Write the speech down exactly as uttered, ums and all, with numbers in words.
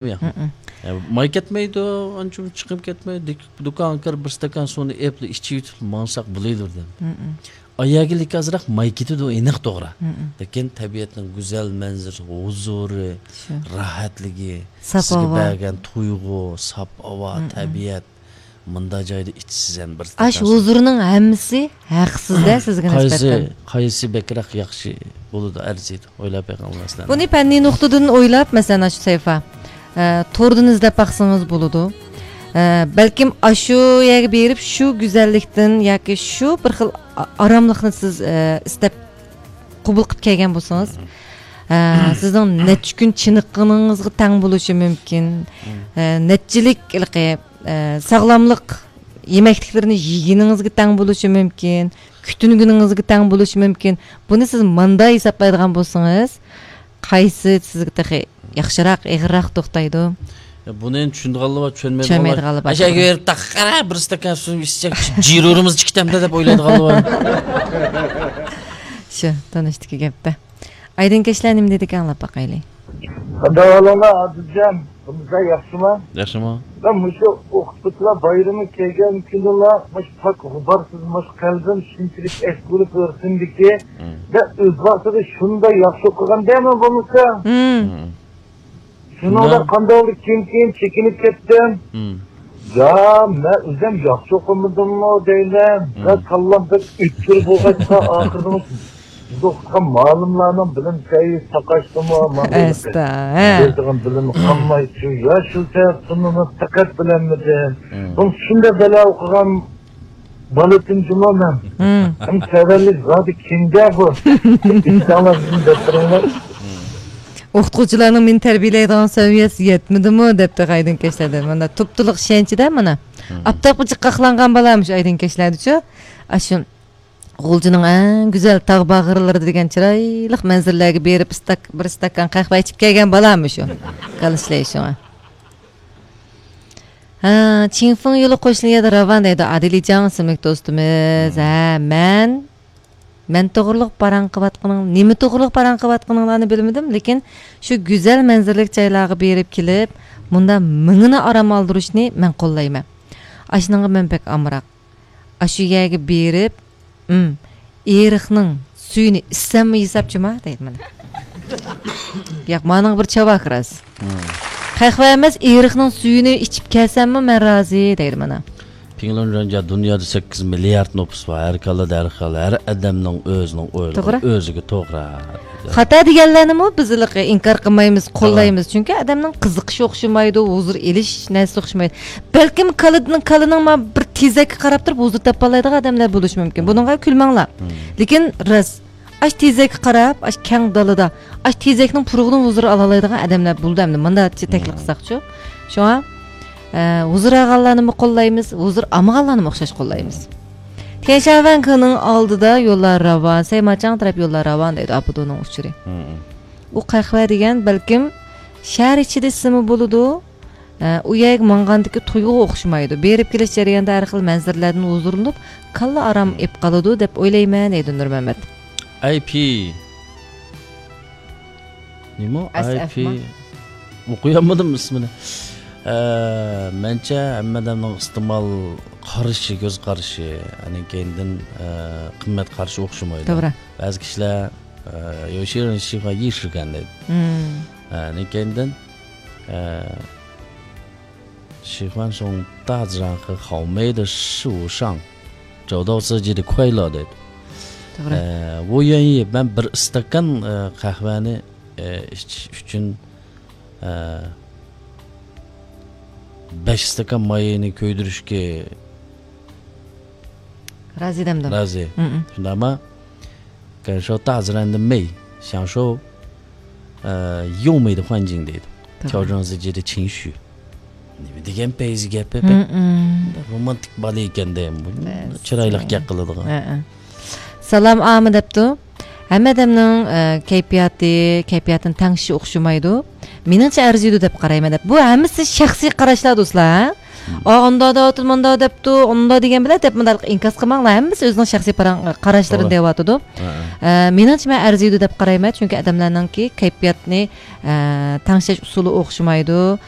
ياق. مم. ئە، ماي كەتمەيدۇ، ئانچە چىقىپ كەتمەيدۇ. دۇك-، دۇكانغا كىرىپ بىر ئىستاكان سۇنى ئېپلا ئىچىۋېتىپ ماڭساق بولىدۇ دەم. مم. ئاياگىلىك ئازراق ماي كېتىدۇ، ئېنىق توغرا. مم. لېكىن تەبىئەتنىڭ گۈزەل مەنزىرىسى، ھۇزۇرى، شۇ. راھەتلىكى، ساپ سىزگە ھاۋا. بەرگەن تۇيغۇ، ساپ ھاۋا، مم. تەبىئەت. مۇنداق جايدا ئىچسىز ھەم بىر ئاش ھۇزۇرنىڭ ھەممىسى ھەقسىز-دە سىزگە قايسى، نىسبەتەن. قايسى بەكرەك ياخشى بولىدۇ، ئەرزىيدۇ؟ ئويلاپ بېقىڭ، مەسىلەن. بۇنى پەننىي نۇقتىدىن ئويلاپ، مەسىلەن، ئاشۇ سەيفا، ئە، توردىن ئىزدەپ باقسىڭىز بولىدۇ. ئە، بەلكىم ئاشۇ يەرگە بېرىپ، شۇ گۈزەللىكتىن ياكى شۇ بىر خىل ئا-، ئاراملىقنى سىز، ئە، ئىستەپ قوبۇل قىلىپ كەلگەن بولسىڭىز، ئە، سىزنىڭ نەچچە كۈن چېنىققىنىڭىزغا تەڭ بولۇشى مۇمكىن. ئە، نەچچىلىك ھېلىقى، ئە، ساغلاملىق يېمەكلىكلىرىنى يېگىنىڭىزگە تەڭ بولۇشى مۇمكىن، كۈتۈنگىنىڭىزگە تەڭ بولۇشى مۇمكىن. بۇنى سىز ماندا ھېسابلايدىغان بولسىڭىز، قايسى سىزگە تېخى ياخشىراق، ئېغىرراق توختايدۇ؟ يا، بۇنى ئەمدى چۈشىنىدىغانلار بار، چۈشەنمەيدىغانلار بار. چۈشەنمەيدىغانلار بار. ئەشەگە بېرىپ، تاققا بىر ئىستاكان سۇ ئىچسەك، جىرورىمىز چىقىتەمدۇ دەپ ئويلايدىغانلار بار. شۇ، تونۇشتىكى گەپتە. ئايدىنكەشلەر نېمە دېدىكەن، ئاڭلاپ باقايلى. قانداق ئەھۋالىڭلار، ئادىلجان؟ بىزلەر ياخشىمۇ؟ ياخشىمۇ؟ مەن مۇشۇ ئوقۇتقۇچىلار بايرىمى كەلگەن كۈنىلا مۇشۇ پاك غۇبارسىز مۇشۇ قەلبىم شۇنچىلىك ئەسكىلىپ ئۆرسۈندىكى، مم. مەن ئۆز ۋاقتىدا شۇنداق ياخشى ئوقۇغان دەيمەن بولمىسا. مم. مم. شۇنىڭدا قانداقلا كېيىن-كېيىن چېكىنىپ كەتتىم. مم. يا، مەن ئۆزۈم ياخشى ئوقۇمىدىممۇ دەيمەن. مم. ۋە كاللام بەك ئۆتكۈر بولغاچقا، ئاخىرىدا ئوقۇتقان مۇئەللىملەرنىڭ بىلىم سەۋىيەسى ساقاشتىمۇ، مانا ئەستا، ھە. بىلىدىغان بىلىم قالمايتتى. يا، شۇ سەۋەبتىن ئۇنى دىققەت بىلەلمىدىم. مم. بۇ شۇنداق بەلا ئوقۇغان بالىتىم جۇمۇ مەن. مم. ھەم سەۋەنلىك زادى كىمدە بۇ؟ ئىشتاڭلار بىزنى دەپ بېرىڭلار. ئوقۇتقۇچىلارنىڭ مېنى تەربىيەلەيدىغان سەۋىيەسى يەتمىدىمۇ دەپتۇ ئايدىنكەشلەردە. مانا، تۇپتۇلۇق ئىشەنچىدە مانا. مم. ئاپتاپقا جىققاقلانغان بالامىش ئايدىنكەشلەردىچۇ. ئاشۇ غۇلجىنىڭ ئەڭ گۈزەل تاغ باغرىلىرىدا دېگەن چىرايلىق مەنزىرىلەرگە بېرىپ، ئىستاك-، بىر ئىستاكان قەھۋە ئىچىپ كەلگەن بالامۇ شۇ. كالا ئىشلەي شۇڭا. ھە، چىڭفېڭ يولى قوشنا يەردە راۋان دەيدۇ. ئادىلىجان ئىسىملىك دوستىمىز. مم. ھە، مەن، مەن توغرۇلۇق پاراڭ قىلىۋاتقىنىڭ، نېمە توغرۇلۇق پاراڭ قىلىۋاتقىنىڭلارنى بىلمىدىم، لېكىن شۇ گۈزەل مەنزىرىلىك جايلارغا بېرىپ كېلىپ، مۇنداق مېڭىنى ئارام ئالدۇرۇشنى مەن قوللايمەن. ئاشۇنىڭغا مەن بەك ئامراق. ئاشۇ يەرگە بېرىپ، ئىم، ئېرىقنىڭ سۈيىنى ئىچسەممۇ ھېساب جۇما دەيدۇ مانا. ياق، مانىڭغا بىر چاۋاك راست. مم. قەھۋە ئەمەس، ئېرىقنىڭ سۈيىنى ئىچىپ كەلسەممۇ مەن رازى دەيدۇ مانا. پىڭلۇن رېنجا دۇنيادا سەككىز مىليارد نوپۇس بار. ھەر كاللىدا ھەر خىل، ھەر ئادەمنىڭ ئۆزىنىڭ ئويلىغىنى توغرا. ئۆزىگە توغرا. خاتا دېگەنلەرنىمۇ بىز ھېلىقى ئىنكار قىلمايمىز، توغرا. قوللايمىز. چۈنكى ئادەمنىڭ قىزىقىشى ئوخشىمايدۇ، ھۇزۇر ئېلىش نەرسىسى ئوخشىمايدۇ. بەلكىم كالىدىن، كالىنىڭ ما بىر تېزەككە قاراپ تۇرۇپ ھۇزۇر تاپالايدىغان ئادەملەر بولۇشى مۇمكىن. مم. بۇنىڭغا كۈلمەڭلار. مم. لېكىن راست، ئاش تېزەككە قاراپ، ئاش كەڭ دالىدا، ئاش تېزەكنىڭ پۇرىقىدىن ھۇزۇر ئالالايدىغان ئادەملەر بولىدۇ ئەمدى. مۇنداق تەكلىپ مم. قىلساقچۇ. شۇڭا، ئە، ھۇزۇر ئالغانلارنىمۇ قوللايمىز، ھۇزۇر ئالمىغانلارنىمۇ ئوخشاش قوللايمىز. تيەنشانۋەن كېنىڭ ئالدىدا يوللار راۋان، سەيماچاڭ تەرەپ يوللار راۋان دەيدۇ ئابىدۇنىڭ ئۇچۇرى. مم. ئۇ قەھۋە دېگەن بەلكىم شەھەر ئىچىدە ئىچسىمۇ بولىدۇ. ئە، ئۇ يەرگە ماڭغاندىكى تۇيغۇغا ئوخشىمايدۇ. بېرىپ كېلىش جەريانىدا ھەر خىل مەنزىرىلەردىن ھۇزۇرلىنىپ، كاللا ئارام ئېلىپ قالىدۇ دەپ ئويلايمەن دەيدۇ نۇرمەمەت. ئاي پى. نېمە؟ ئەس ئاي پى. ئەف ما؟ ئوقۇيالمىدىم ئىسمىنى. ئە، مەنچە ھەممە ئادەمنىڭ ئىستېمال قارىشى، كۆز قارىشى، ئاندىن كېيىندىن، ئە، قىممەت قارىشى ئوخشىمايدۇ. توغرا. بەزى كىشىلەر، ئە، يوشىرىن شىفا يىشىگەن دەيدۇ. مم. ئاندىن كېيىندىن، ئە، 喜欢上大自然和好美的事物上找到自己的快乐 دەيدۇ. توغرا. ئە، بۇ يەنى مەن بىر ئىستاكان، ئە، قەھۋەنى، ئە، ئىچىش ئۈچۈن، ئە، بەش ئىستاكان ماينى كۆيدۈرۈشكە رازى دەمدۇ. رازى. مم. شۇنداقما؟ 感受大自然的美，享受，呃，优美的环境 دەيدۇ. توغرا. 调整自己的情绪. نېمە دېگەن پەيزى گەپ، مم. رومانتىك بالا ئىكەن دەيمەن. بۇ بەس. چىرايلىق گەپ قىلىدىغان. ھە، ھە. سالام ئاما دەپتۇ. ھەممە ئادەمنىڭ، ئە، كەيپىياتى، كەيپىياتىنى تەڭشىشى ئوخشىمايدۇ. مېنىڭچە ئەرزىيدۇ دەپ قارايمەن دەپ. بۇ ھەممىسى شەخسىي قاراشلار دوستلار، ھە؟ ئا، ئاندا دەۋاتىدۇ، ماندا دەپتۇ، ئاندا دېگەن بىلەن دەپ مۇنداق ئىنكاس قىلماڭلار، ھەممىسى ئۆزىنىڭ شەخسىي پاراڭ-، قاراشلىرىنى دەۋاتىدۇ. ئە، مېنىڭچە، مەن ئەرزىيدۇ دەپ قارايمەن، چۈنكى ئادەملەرنىڭكى كەيپىياتنى، ئە، تەڭشەش ئۇسۇلى ئوخشىمايدۇ.